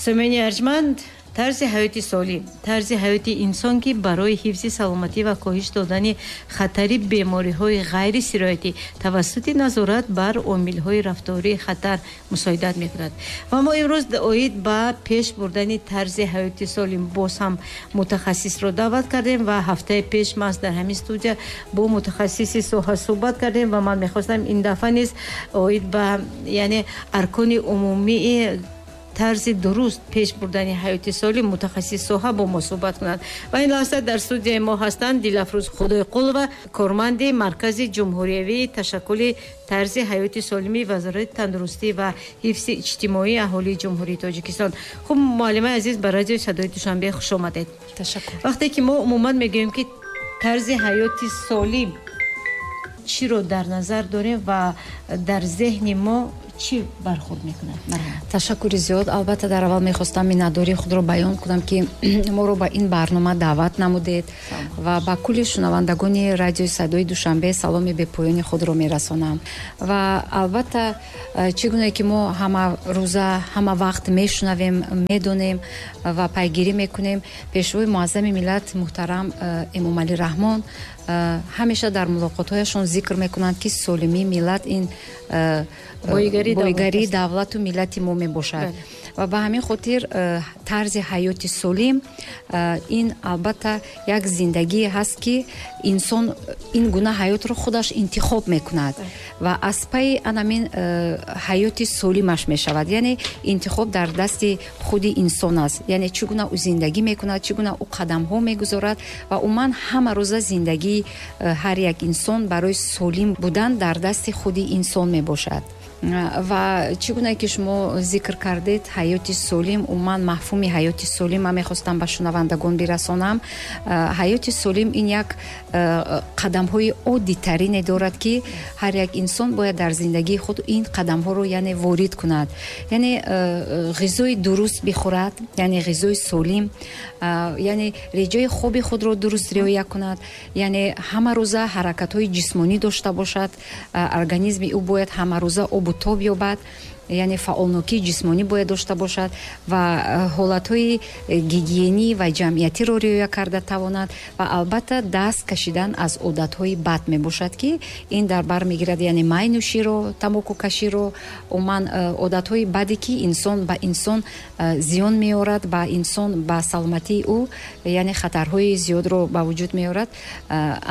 Самини арҷманд, тарзи ҳаёти солим, тарзи ҳаёти инсон, ки барои ҳифзи саломатӣ ва коҳиш додани хатари бемориҳои ғайрисироятӣ тавассути назорат бар омилҳои рафтории хатар мусоидат мекунад. Ва мо имрӯз оид ба пеш бурдани тарзи ҳаёти солим боз ҳам мутахассисро даъват кардем ва ҳафтаи пеш маҳз дар ҳамин студия бо мутахассиси соҳа суҳбат кардем ва ман мехостам ин дафъа низ оид ба, яъне, аркони умумии тарзи дуруст пеш бурдани ҳаёти солим мутахассис соҳа бо мо суҳбат кунанд. Ва ин лаҳза дар студияи мо ҳастанд Дилафрӯз Худойқулова, корманди Маркази ҷумҳуриявии ташаккули тарзи ҳаёти солимии Вазорати тандурустӣ ва ҳифзи иҷтимоии аҳолии Ҷумҳурии Тоҷикистон. Хуб, муаллимаи азиз, ба радиои Садои Душанбе хуш омадед. Ташаккур. Вақте ки мо умуман мегӯем, ки тарзи ҳаёти солим, чиро дар назар дорем ва дар зеҳни мо чӣ бархӯрд мекунад? Ташаккури зиёд. Албатта, дар аввал мехостам миннатдории худро баён кунам, ки моро ба ин барнома даъват намудед, ва ба кулли шунавандагони радиои Садои Душанбе саломи бепоёни худро мерасонам. Ва албатта, чӣ гуне ки мо ҳама рӯза, ҳама вақт мешунавем, медонем ва пайгирӣ мекунем, Пешвои муаззами миллат муҳтарам Эмомалӣ Раҳмон ҳамеша дар мулоқотҳояшон зикр мекунанд, ки солимии миллат ин боигарии давлату миллати мо мебошад. Ва ба ҳамин хотир тарзи ҳаёти солим ин албатта як зиндагие ҳаст, ки инсон ин гуна ҳаётро худаш интихоб мекунад ва аз пайи анамин ҳаёти солимаш мешавад. Яъне интихоб дар дасти худи инсон аст, яъне чӣ гуна ӯ зиндагӣ мекунад, чӣ гуна ӯ қадамҳо мегузорад. Ва умуман ҳама рӯза зиндагии ҳар як инсон барои солим будан дар дасти худи инсон мебошад. Ва чӣ гуна ки шумо зикр кардед, ҳаёти солим, умуман мафҳуми ҳаёти солим ман мехостам ба шунавандагон бирасонам. Ҳаёти солим ин як қадамҳои оддитарине дорад, ки ҳар як инсон бояд дар зиндагии худ ин қадамҳоро, яъне, ворид кунад, яъне ғизои дуруст бихӯрад, яъне ғизои солим, яъне реҷаи хоби худро дуруст риоя кунад, яъне ҳама рӯза ҳаракатҳои ҷисмонӣ дошта бошад, организми ӯ бояд ҳамарӯза обу тоб ёбад, яъне фаъолнокии ҷисмонӣ бояд дошта бошад ва ҳолатҳои гигиенӣ ва ҷамъиятиро риоя карда тавонад. Ва албатта даст кашидан аз одатҳои бад мебошад, ки ин дар бар мегирад, яъне майнӯширо, тамокукаширо, умуман одатҳои баде, ки инсон ба инсон зиён меорад, ба инсон, ба саломатии ӯ, яъне хатарҳои зиёдро ба вуҷуд меорад.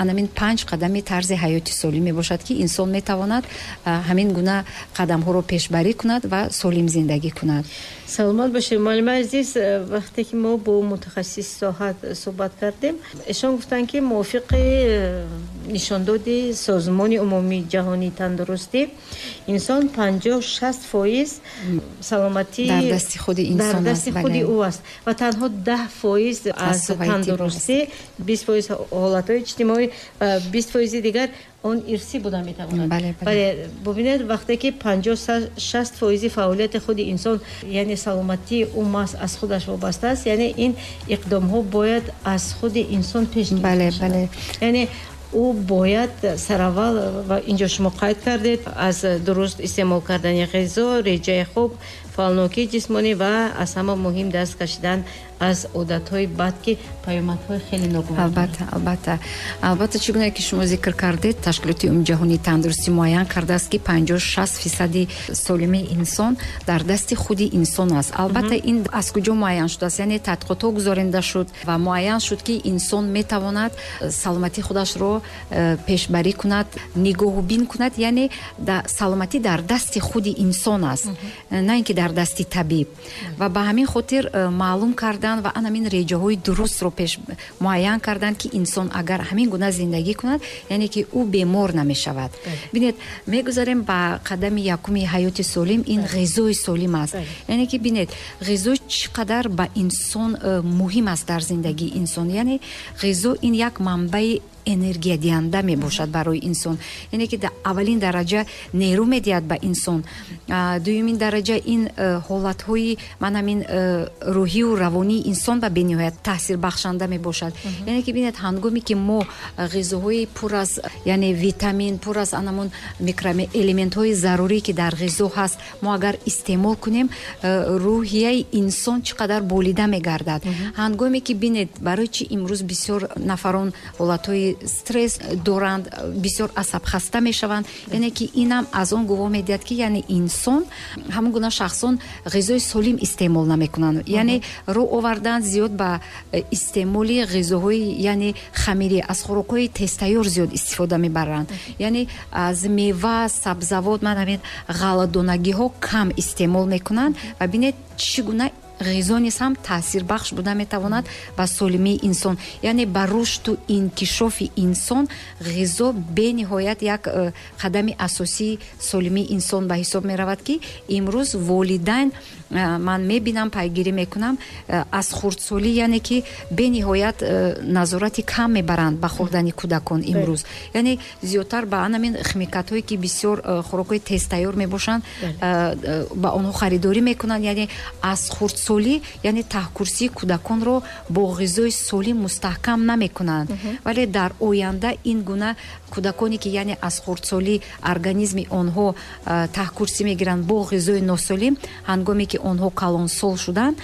Анамин панҷ қадами тарзи ҳаёти солим мебошад, ки инсон метавонад ҳамин гуна қадамҳоро пешбарӣ кунад ва солим зиндагӣ кунад. Саломат бошед, муаллимаи азиз. Вақте ки мо бо мутахассис соҳа суҳбат кардем, эшон гуфтанд, ки мувофиқи нишондоди Созмони умумии ҷаҳонии тандурустӣ инсон 50-60% саломатӣ дар дасти худи инсон дар дасти худи ӯ аст ва танҳо 10% аз тандурустӣ, 20% ҳолатҳои иҷтимоӣ ва 20%-и дигар он ирсӣ буда метавонад. Бале, бубинед, вақте ки 50-60%-и фаъолияти худи инсон, яъне саломатии ӯ маҳз аз худаш вобаста аст, яъне ин иқдомҳо бояд аз худи инсон пеш гирифта шавад. Яъне ӯ бояд сараввал, ва инҷо шумо қайд кардед, аз дуруст истеъмол кардани ғизо, реҷаи хуб, фаъолнокии ҷисмонӣ ва аз ҳама муҳим даст кашидан аз одатҳои бад, ки паёмадҳои хеле ногувор. Албатта, албатта, албатта, чӣ гуна ки шумо зикр кардед, Ташкилоти умумиҷаҳонии тандурустӣ муайян кардааст, ки 50-60%-и солимии инсон дар дасти худи инсон аст. Албатта, ин аз куҷо муайян шудааст? Яъне тадқиқотҳо гузаронида шуд ва муайян шуд, ки инсон метавонад саломатии худашро пешбарӣ кунад, нигоҳубин кунад, яъне саломатӣ дар дасти худи инсон аст, на ин ки дар дасти табиб. Ва ба ҳамин хотир маълум кардан ва анамин реҷаҳои дурустро пеш муайян карданд, ки инсон агар ҳамин гуна зиндагӣ кунад, яъне ки ӯ бемор намешавад. Бинед, мегузарем ба қадами якуми ҳаёти солим, ин ғизои солим аст. Яъне ки бинед, ғизо чӣ қадар ба инсон муҳим аст дар зиндагии инсон. Яъне ғизо ин як манбаи Энергиядиҳанда мебошад барои инсон, яъне ки аввалин дараҷа нерӯ медиҳад ба инсон. Дуюмин дараҷа, ин ҳолатҳои ман ҳамин рӯҳию равонии инсон ба бениҳоят таъсирбахшанда мебошад. Яъне ки бинед, ҳангоме ки мо ғизоҳои пур аз, яъне, витамин, пур аз анамон микроэлементҳои зарурӣ, ки дар ғизо ҳаст, мо агар истеъмол кунем, рӯҳияи инсон чӣ қадар болида мегардад. Ҳангоме ки бинед, барои чӣ имрӯз бисёр нафарон ҳолатҳои стресс доранд, бисёр асабхаста мешаванд? Яъне ки инам аз он гувоҳ медиҳад, ки яъне инсон, ҳамон гуна шахсон ғизои солим истеъмол намекунанд, яъне рӯ овардан зиёд ба истеъмоли ғизоҳои, яъне, хамирӣ, аз хӯрокҳои тезтайёр зиёд истифода мебаранд, яъне аз мева, сабзавот, ман ҳамин ғалладонагиҳо кам истеъмол мекунанд. Ва бинед, чӣ гуна ғизо низ ҳам таъсирбахш буда метавонад ба солимии инсон, яъне ба рушду инкишофи инсон. Ғизо бениҳоят як қадами асосии солимии инсон ба ҳисоб меравад, ки имрӯз волидайн ман мебинам, пайгирӣ мекунам, аз хурдсолӣ, яъне ки бениҳоят назорати кам мебаранд ба хӯрдани кӯдакон имрӯз, яъне зиёдтар ба анамин химикатҳое, ки бисёр хӯрокҳои тезтайёр мебошанд, ба онҳо харидорӣ мекунанд. Яъне аз хурдсолӣ, яъне таҳкурсии кӯдаконро бо ғизои солим мустаҳкам намекунанд. Вале дар оянда ин гуна кӯдаконе, ки, яъне, аз хурдсолӣ организми онҳо таҳкурсӣ мегиранд бо ғизои носолим, ҳангоме ки онҳо калонсол шуданд